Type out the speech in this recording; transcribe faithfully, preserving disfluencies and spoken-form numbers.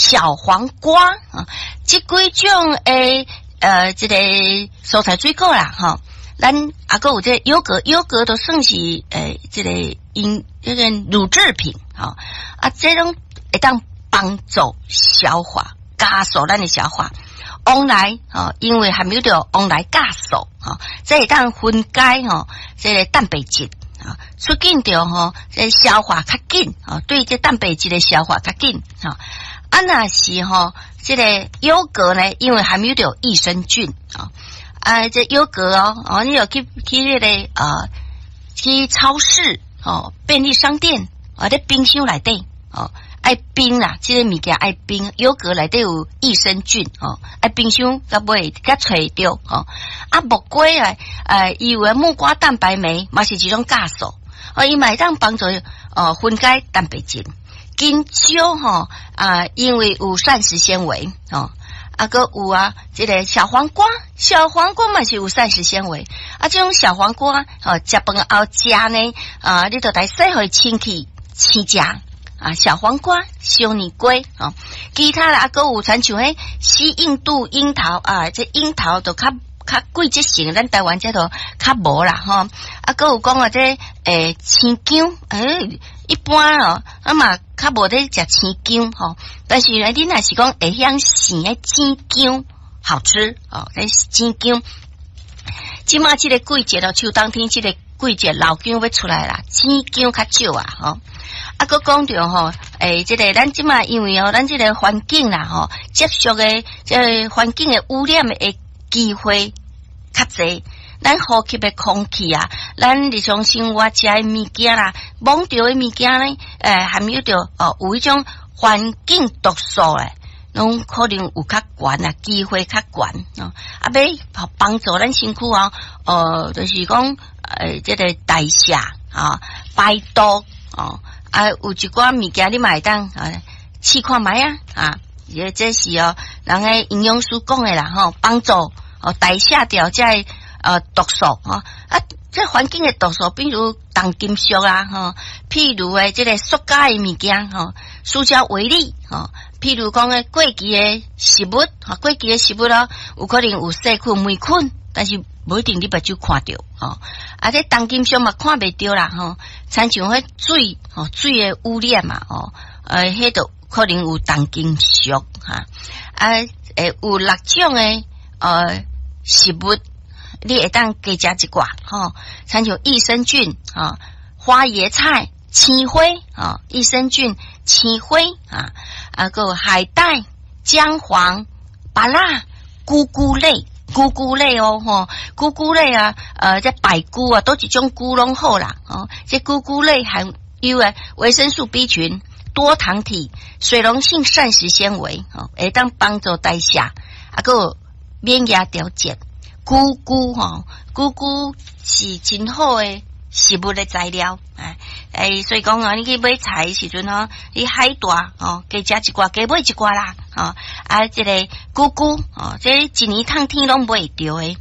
小黃瓜啊，這幾種的呃，這個蔬菜水果啦，吼。咱啊，閣有這個優格，優格都算是誒，這個因這個乳製品，吼啊，這種會當幫助消化，加速咱的消化。黃梨吼，因為含有著黃梨酵素，吼，這會當分解吼，這個蛋白質，啊，促進著吼，這個消化較緊，吼，對這蛋白質的消化較緊，吼。啊，若是吼，這個優格呢，因為含有著益生菌，啊。啊，這優格哦，哦，你有去去彼個啊，去超市哦，便利商店啊，佇冰箱內底哦，愛冰啦，這個物件愛冰，優格內底有益生菌哦，愛冰箱才袂才揣會著哦。啊，木瓜啊，呃，伊有的木瓜蛋白酶嘛是一種酵素，哦，伊嘛會當幫助哦分解蛋白質。香蕉吼啊，因為有膳食纖維哦。啊，閣有啊，這個小黃瓜，小黃瓜嘛是有膳食纖維。啊，這種小黃瓜哦，食飯後食呢，啊，你就來洗予清氣，生食啊，小黃瓜、小年瓜哦，其他啦，啊，閣有親像彼西印度櫻桃啊，這櫻桃就較較季節性，咱台灣這都較無啦吼。啊，閣有講啊，這欸生薑，欸，一般哦，啊嘛較無咧食生薑吼。但是呢，你若是講會曉生的生薑好吃哦，這生薑。這馬這個季節咯，秋冬天這個季節，老薑欲出來啦，生薑較少啊吼。啊，閣講著吼，欸，這個咱這馬因為哦，咱這個環境啦吼，接觸的這個環境的污染的機會較濟，咱呼吸的空氣啊，咱日常生活食的物件啦，摸著的物件呢，欸，含有著哦，有彼種環境毒素咧，攏可能有較懸啊，機會較懸哦。啊，欲幫助咱身軀哦，呃，就是講，欸，這個代謝啊，排毒哦，啊，有一寡物件你嘛會當啊，試看覓啊，啊，這這是哦，人的營養師講的啦吼，幫助哦代謝掉這個呃毒素吼啊，這環境的毒素，比如重金屬啊吼，譬如的這個塑膠的物件吼，塑膠微粒吼，譬如講的過期的食物，吼，過期的食物咯，有可能有細菌、黴菌，但是無一定你目睭看著吼，啊，這重金屬嘛看袂著啦吼，親像彼水吼，水的污染嘛吼，呃，彼就可能有重金屬哈，啊，欸，有六種的呃食物，你會當加食一寡吼，親像益生菌啊、花椰菜、青花啊、益生菌、青花啊，啊閣有海帶、薑黃、芭樂、菇菇類、菇菇類哦吼，菇菇類啊，呃，這白菇啊，佗一種菇攏好啦，哦，這菇菇類含有的維生素 B 群、多糖體、水溶性膳食纖維，哦，會當幫助代謝，啊，閣有免疫調節。菇菇吼，菇菇是真好的食物的材料，哎哎，所以講啊，你去買菜的時陣吼，你海帶吼，加食一寡，加買一寡啦，吼，啊，這個菇菇哦，這一年通天攏買會著的。